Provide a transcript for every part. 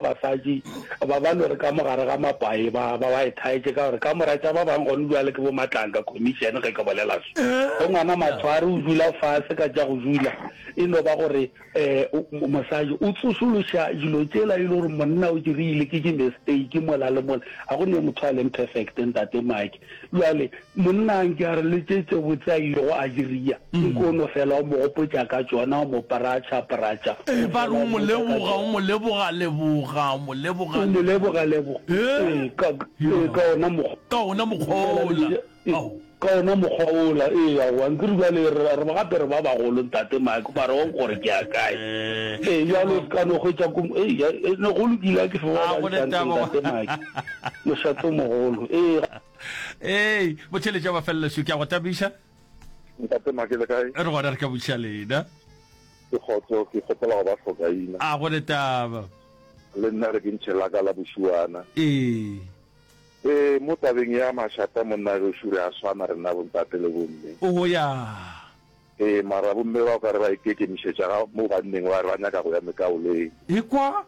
basadi ba ba no re ka mo gare ga mapae ba ba ba e thaetše ka gore kamora tša ba bang gone bjale ke bo matlanka commission ge ke bolela so. Ge ngwana matshware o dula fase ka tša go dula e no ba gore um mosadi o tsošološa dilo tšela e le gore monna o dirile ke di mistake mola le mola. Ga go ne motho a leng perfect ntate Mike. Bjale monna a nke a re le tše tše botse a ilego a diria, nke o no fela o mo gopotša ka tšona, o mo pratša pratša, Ee, o ba re fela o o mo mmotša ka leboga, o tšona. mo leboga leboga, o mo leboga O mo leboga. leboga leboga. Ee, Ee, ka, ee, ya, ka ona mokgwa. ka ona mokgwa Fela le wola. bile, ee, Ao. ka ona mokgwa wola. Ee, aowa, nkere bjale re, re gape re ba bagolo, Ntate Mike, mara wa gore ke ya kae. Ee, Ee, ke a bjale o go. se ka no hwetša ko, ee, ya, ee, ne go lokile, a ke fe ba A go bantši hantle, letaba. Ntate Mike. Mošate o mogolo. Ee. Ee, botheletša ba felela šo, ke a go tabiša. Ntate Make le kae? Re gona re ka botšiša lena. Ke kgotso, ke kgopela go ba hlokaina. A go le taba. Le nna re ke ntšhe la ka la bošuana. Ee. Ee, mo tabeng ya mašata monna gešo re a swana rena bontate le bomme. O ya. Ee, mara bomme ba o ka re ba ikekemišetša ga mo banneng ba re ba nyaka go ya mekaoleng. Ekwa.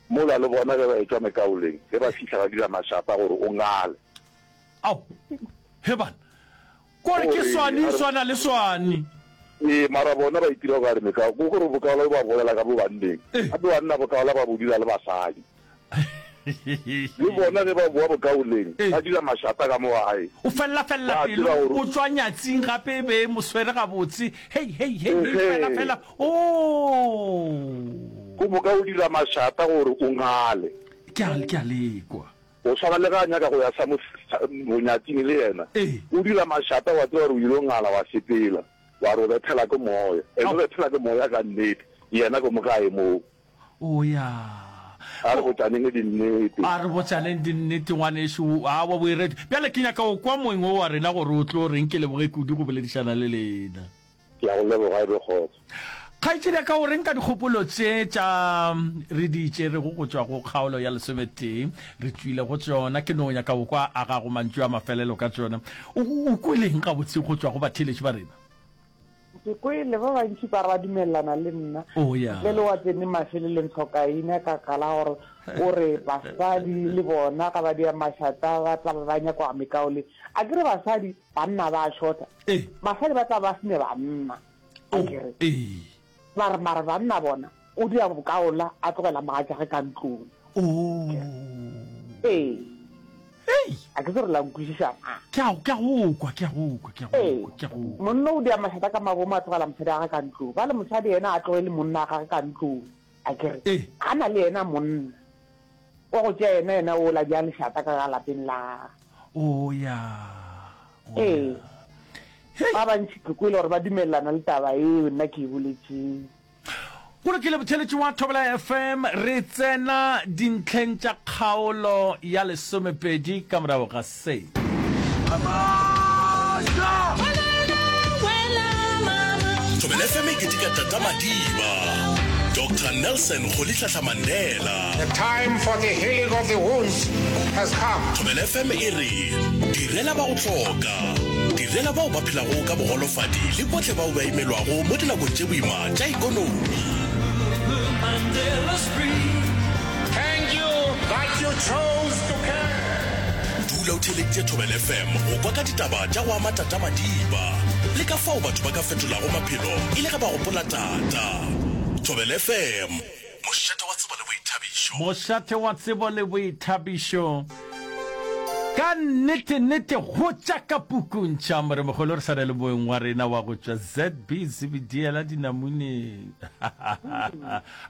Mola le bona ge ba etšwa mekaoleng, ge ba fihla ba dira mašata gore o ngale. Ao, he bana, kore ke swani e swana le swani. Ee, mara bona ba itira o ka re mekao, ke gore bokaola bo ba bolela ka bo banneng, gape banna bokaola ba bo dira le basadi. Le bona ge ba boa bokaoleng, ba dira mašata ka mo gae. O fella-fella Ba pelo, tseba gore. o tšwa nyatsing gape e be e mo swere gabotse. Hei, hei, hei, hei, fela, Ehe. fela, oo. Go moka o dira mašata gore o ngale. Ke a, ke a lekwa. Go swana le ge a nyaka go ya sa mo, sa, bonyatsing le yena. Ee. O dira mašata wa tseba gore o ile ngala wa sepela, wa re o bethela ke moya. And o bethela ke moya ka nnete, yena ke mo gae moo. O ya. A re botšaneng dinnete. A re botšaneng dinnete, ngwanešu. Aowa, o e rete. Bjale ke nyaka go kwa moeng wo wa rena gore o tlo reng. Ke leboge kudu go boledišana le lena. Ke a go leboga, e be kgotso. Kgaetšedi ya ka, o reng ka dikgopolo tše tša re di tšerego go tšwa go kgaolo ya lesometee? Re tšwile go tšona. Ke no nyaka go kwa a gago mantšu a mafelelo ka tšona. O, o kweleng gabotse go tšwa go batheeletši ba rena? Ke kwele ba bantši ba re ba dumelelana le nna. Oh, ya. Ntle le wa tsene mafelelong tlhokaina ka kala gore o re basadi le bona ga ba dia mašata ba tla ba ba nyakwa mekaole. A ke re basadi banna ba shota. Eh. Basadi ba tla ba sene banna. A Oh, ke re. ee. Ba re mara banna bona o dia bokaola a tlogela mogatšage ka ntlong. Oh. Ee. Hei! A ke se re la nkwešiša na? Ke a, ke a go kwa, ke a go kwa, ke a go Ee. kwa, ke a go kwa. Monna o dia mašata ka mabomo a tlogela mosadi wa gagwe ka ntlong. Bjale mosadi yena a tlogele monna wa gagwe ka ntlong. A ke re, Ee. ga na le yena monna wa go tšea yena, yena o la bjang lešata ka ga lapeng la gagwe. O ya, o Ee. ya. Hei! Ba bantši ke kwele gore ba dumelelana le taba yeo nna ke e boletšeng. Go lokile botheletši wa Thobela FM, re tsena dintlheng tša kgaolo ya lesomepedi ka morago ga se. Thobela FM e keteka Tata Madiba, Doctor Nelson Rolihlahla Mandela. The time for the healing of the wounds has come. Thobela FM e re direla ba go hloka, direla bao ba phelago ka bogolofadi le bohle bao ba imelwago mo dinakong tše boima tša ikonomi. Thank you that you chose to care. Dula o theeleditše Thobela FM go kwa ka ditaba tša go ama Tata Madiba le ka fao batho ba ka fetolago maphelo e le ge ba gopola Tata. Thobela FM, mošate wa tsebo le boithabišo. Mošate wa tsebo le boithabišo. Ka nnete nnete go tša ka pukung tša Moremogolo re sa na le moeng wa rena wa go tšwa ZB Zebediela dinamuneng.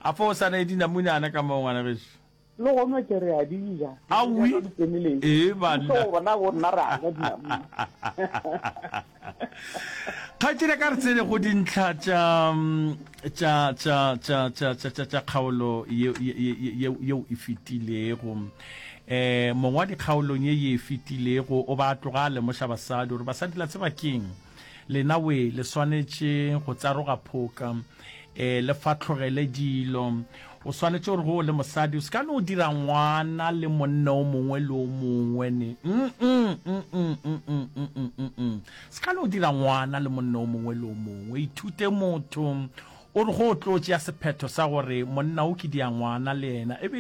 A fo o sa na le dinamune ana ka moo ngwana gešo? Le gona ke re a di ja. Awi. Ee banna. Bona bo nna re a ja dinamune. Kgaetšedi ka re tsene go dintlha tša tša tša tša tša tša tša tša kgaolo yeo e fetilego. Eh mongwadi kgaolong ye ye e fetilego o ba a tloga a lemoša basadi gore basadi la tseba keng lena we le swanetše go tsaroga phoka eh le fahlogele dilo o swanetše gore go le mosadi o se ka no dira ngwana le monna o mongwe le o mongwe ne mm mm mm mm mm mm mm mm se ka no dira ngwana le monna o mongwe le o mongwe ithute motho o re go o tlo tšea sephetho sa gore monna o ke dia ngwana le yena e be.